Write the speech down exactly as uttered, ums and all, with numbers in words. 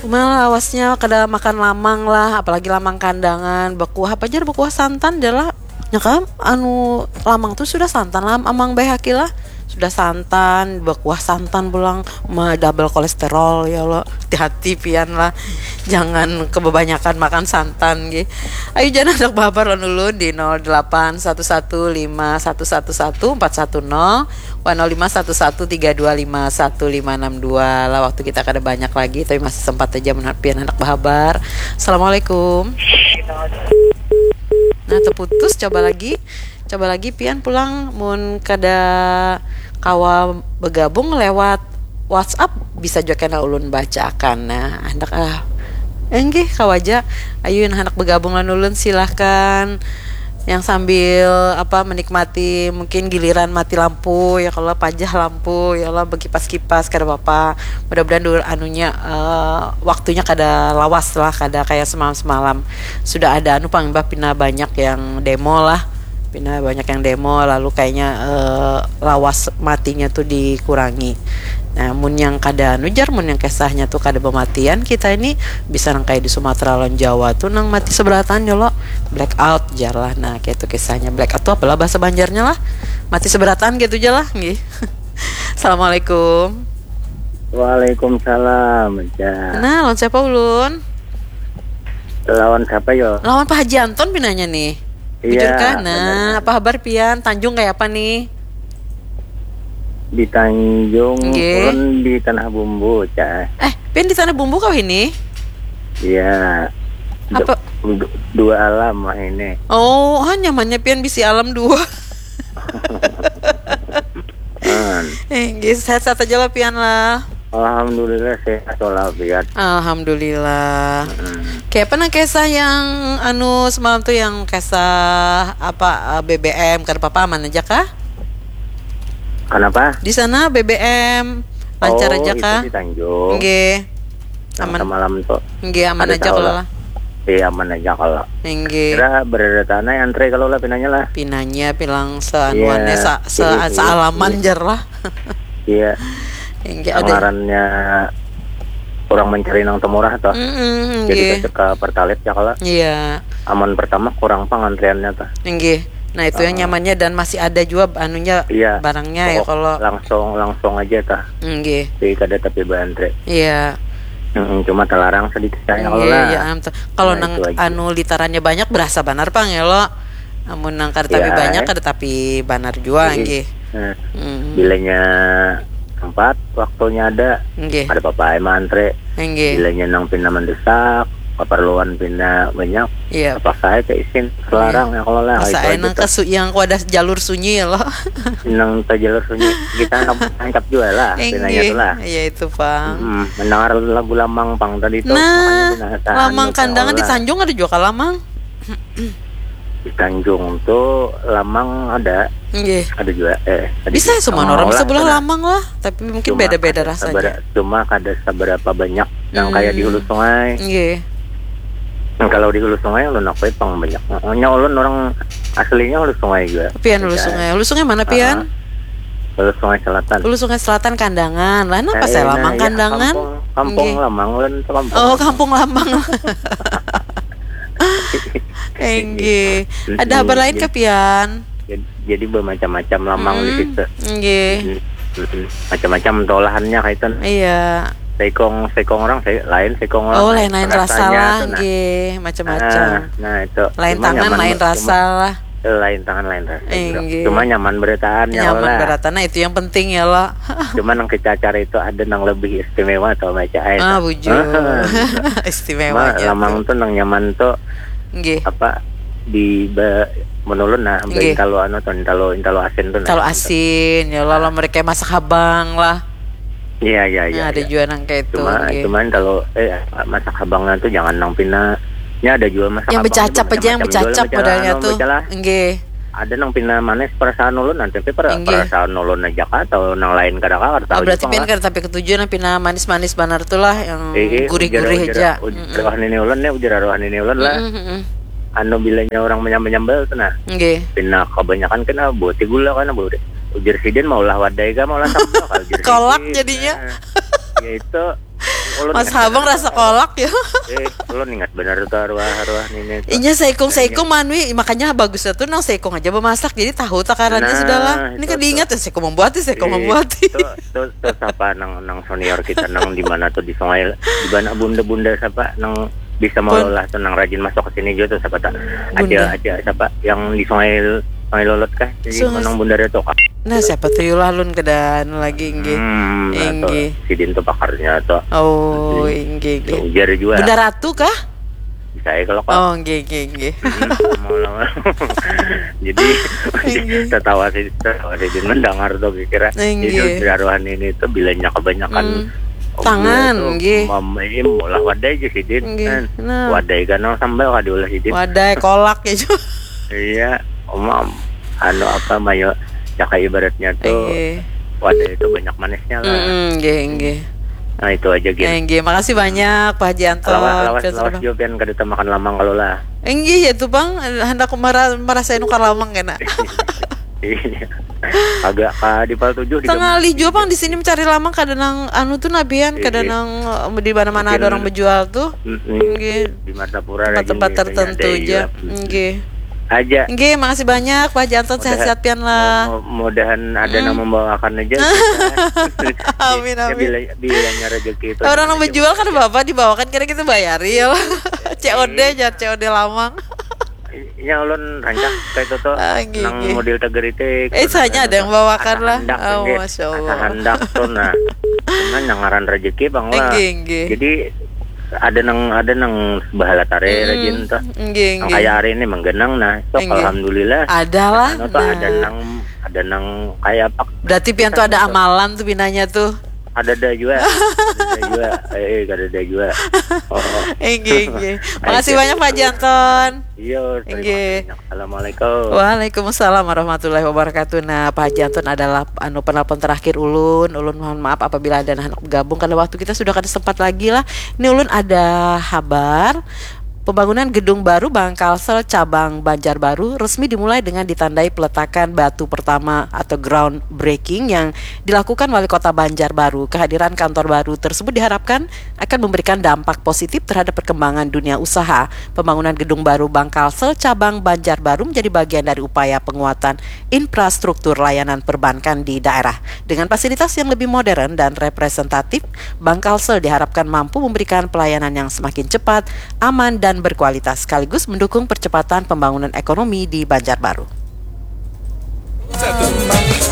Malawasnya kada makan lamang lah, apalagi lamang kandangan, bekuah apa jar, bekuah santan jar lah. Nya kan anu lamang tuh sudah santan lah, amang baik lah. Sudah santan, bekuah santan pulang, ma double kolesterol ya lo. Hati-hati pian lah. Jangan kebanyakan makan santan gih. Ayo jangan ada kabar lawan ulun di nol delapan satu satu lima satu satu satu empat satu nol. Wan nol lima satu satu tiga dua lima satu lima enam dua lah, waktu kita kada banyak lagi tapi masih sempat aja menurut pian anak bahabar. Assalamualaikum. Nah, terputus, coba lagi. Coba lagi pian pulang mun kada kawa bergabung lewat WhatsApp bisa juga kena ulun bacakan. Nah, hendak ah. Enggih, kawa aja. Ayo yang hendak bergabung lawan ulun silahkan. Yang sambil apa menikmati mungkin giliran mati lampu ya kalau pajah lampu ya Allah berkipas-kipas kada apa-apa. Mudah-mudahan dulu anunya eh, waktunya kada lawas lah, kada kayak semalam-semalam. Sudah ada anu pang imbah pina banyak yang demo lah. Pina banyak yang demo lalu kayaknya eh, lawas matinya tuh dikurangi. Nah, mun yang kada anu jar, mun yang kisahnya tuh kada pematian kita ini bisa nang kayak di Sumatera lawan Jawa tuh nang mati seberatan ya lo, black out jar lah. Nah, kayak itu kisahnya black out tuh apalah bahasa Banjarnya lah. Mati seberatan gitu aja lah, nggih. Assalamualaikum. Waalaikumsalam, Ca. Nah, lawan siapa ulun? Lawan siapa yo? Lawan Pak Haji Anton pinanya nih. Iya, bujur kah? Nah, bener. Apa kabar pian? Tanjung kayak apa nih? Di Tanjung, nggih. Ulun di Tanah Bumbu, Ca. Eh, pian di Tanah Bumbu kau ini? Iya. Apa? Du- dua alam lah ini. Oh, ah, nyamannya pian bisi alam dua. Hmm. Eh, nggih, sehat-sehat aja lah pian lah. Alhamdulillah sehat walafiat. Alhamdulillah. Hmm. Kayak apa nang kisah yang anu semalam tuh yang kisah apa eh, B B M kada apa-apa aman aja kah? Kenapa? Di sana B B M lancar oh, aja kah? Di Tanjung. Nggih. Aman. Semalam tuh. Nggih, aman aja kalau lah. Iya, aman aja kalau. Nggih. Kira berada tanah antri kalau lah pinanya lah. Pinanya pilang seanuannya iya, sa, se, iya, sealaman iya. Jar lah. Iya. Nggih, ada. Ngarannya orang mencari nang temurah tuh. Mm -mm, jadi ke Pertalite ya kalau. Iya. Aman pertama kurang pang antriannya tuh. Nggih. Nah, itu uh, yang nyamannya dan masih ada juga anunya iya, barangnya ya kalau langsung langsung aja tah. Nggih. Jadi kada tapi bantre. Iya. Mm, cuma terlarang sedikit saya kalau iya, lah. Iya, kalau nah, nang anu litarannya banyak berasa banar pang ya lo. Amun nang kada tapi iya, banyak eh. Kada tapi banar juga nggih. Nah, mm. Bilanya tempat waktunya ada. Nggih. Ada apa-apa emang antre. Nggih. Bilanya nang pina mendesak, keperluan pina banyak. Iya. Apa saya ke isin selarang ya kalau lah. Masa nang kesu yang ku ada jalur sunyi ya lo. Nang ke jalur sunyi kita nang tangkap juga lah. Pinanya itu lah. Iya itu pang. Hmm, mendengar lagu lamang pang tadi itu. Nah, lamang kandangan di Tanjung ada juga lamang. Di Tanjung tuh lamang ada. Nggih. Ada juga eh ada bisa semua orang sebelah lamang lah, tapi mungkin beda-beda rasanya. Cuma kada seberapa banyak yang hmm. Kayak di hulu sungai. Nggih. Nah, kalau di hulu sungai ulun aku pang banyak. Nya ulun orang aslinya hulu sungai juga. Pian hulu sungai. Hulu sungai mana pian? Uh, hulu sungai selatan. Hulu sungai selatan kandangan. Lah kenapa saya lamang nah, kandangan? Kampung, kampung lamang ulun tuh kampung. Oh, kampung lamang. Enggih. Ada kabar lain ke pian? Jadi, jadi bermacam-macam lamang hmm, di situ. Enggih. Hmm, hmm, hmm. Macam-macam olahannya kayak itu. Iya. Sekong sekong orang se, lain sekong orang. Oh, lain-lain rasa lah, nah. Nggih, macam-macam. Nah, nah itu. Lain cuma tangan, nyaman, lain rasa cuma, lah. Lain tangan, lain rasa. Enggih. Cuma nyaman berataan ya. Nyaman berataan, nah itu yang penting ya lo. Cuma nang kecacar itu ada nang lebih istimewa atau macam ah, bujur. Istimewa. Lamang tuh nang nyaman tuh. Nggih. Apa di ba, menulun nah, nggih. Intalu anu tuh, intalu intalu asin tuh. Intalu nah, asin, ya Allah, mereka masak habang lah. Iya iya iya. Nah, ada iya. Juga nang kayak itu. Cuma nggih. Cuman kalau eh masak habangnya tuh jangan nang pina. Ini ada juga masak yang habang becacap aja yang becacap modelnya anu, tuh. Nggih. Ada nang pina manis perasaan ulun nanti per, perasaan ulun aja kah atau nang lain kada kah kada tahu. Berarti pian kada tapi ketujuh nang pina manis-manis banar tuh lah yang gurih-gurih aja. Ujar arwah nini ulun ya, ujar arwah nini ulun lah. Anu bilanya orang menyambal-nyambal tuh nah. Nggih. Pina kebanyakan kena buat gula kan buat. Ujar sidin mau lah wadai kah mau lah sambal kalau ujar kolak sidin, jadinya. Nah, ya itu Mas Habang rasa kolak ya. Eh, ulun ingat benar tuh arwah-arwah nini. Inya seikung-seikung manwi, makanya bagusnya tuh nang seikung aja bemasak, jadi tahu takarannya sudah lah. Ini kan diingat ya, seikung membuat, seikung membuat. Tuh, tuh, tuh siapa nang nang senior kita nang di mana tuh di Sungai, di mana bunda-bunda siapa nang bisa mengelola tuh, nang rajin masuk ke sini juga tuh siapa tak? Ada, ada siapa yang di Sungai, Sungai Lolot kah? Jadi nang bunda tuh kah? Nah, siapa tuh yulah lun keadaan lagi nggih. Hmm, nah, tuh, sidin tuh pakarnya tuh. Oh, inggih, inggih. Ujar juga. Bunda Ratu kah? Bisa ya kalau kau. Oh, nggih, nggih, nggih. Jadi tatawa sih, tatawa sih mendengar tuh kira. Jadi aruhan ini tuh bilanya kebanyakan tangan, nggih. Mamaim ulah wadai aja sidin. Nggih. Nah, wadai kan sambal kada ulah sidin. Wadai kolak ya. Iya, om anu apa mayo, ya kayak ibaratnya tuh wadah itu banyak manisnya lah. Mm, nggih, nggih. Nah, itu aja gin. Eh, nggih, makasih banyak Pak Haji Anton. Lawas, lawas, lawas juga pian kada makan lamang kalau lah. Enggih ya tuh Bang, hendak mara, merasa nukar lamang kena. Iya. Agak ka di Pal tujuh di Tengah juga Bang di sini mencari lamang kada nang anu tuh nabian, kada nang eh, di mana-mana ada orang berjual tuh. Nggih. Di Martapura tempat-tempat tertentu aja. Nggih. Aja. Nggih, makasih banyak Pak Janton, sehat-sehat pian lah. Mudahan ada nang membawakan aja. Amin, amin. Bilanya rezeki itu. Orang nang menjual kan bapak dibawakan kira kita bayari ya. C O D aja, C O D lamang. Ya ulun rancak kayak itu tuh. Ah, nang model tagar itu. Eh, saya ada yang bawakan lah. Oh, masya Allah. Asa handak tuh nah. Cuman yang ngaran rezeki bang lah. Jadi ada nang ada nang bahala tare rajin tuh. Nggih, nggih. Kayak hari ini menggenang nah. Sok alhamdulillah. Ada lah. Anu tuh ada nang ada nang kayak apa? Berarti pian tuh ada amalan tuh pinanya tuh. Ada ada juga. Ada ada juga. Eh, ada ada juga. Oh. Nggih, nggih. Makasih banyak Pak Janton. Iya, terima kasih. Assalamualaikum. Waalaikumsalam warahmatullahi wabarakatuh. Nah, Pak Haji Anton adalah anu penelpon terakhir ulun. Ulun mohon maaf apabila ada anak bergabung karena waktu kita sudah kada sempat lagi lah. Ini ulun ada habar pembangunan gedung baru Bank Kalsel cabang Banjarbaru resmi dimulai dengan ditandai peletakan batu pertama atau groundbreaking yang dilakukan Wali Kota Banjarbaru. Kehadiran kantor baru tersebut diharapkan akan memberikan dampak positif terhadap perkembangan dunia usaha. Pembangunan gedung baru Bank Kalsel cabang Banjarbaru menjadi bagian dari upaya penguatan infrastruktur layanan perbankan di daerah. Dengan fasilitas yang lebih modern dan representatif, Bank Kalsel diharapkan mampu memberikan pelayanan yang semakin cepat, aman, dan berkualitas, sekaligus mendukung percepatan pembangunan ekonomi di Banjarbaru.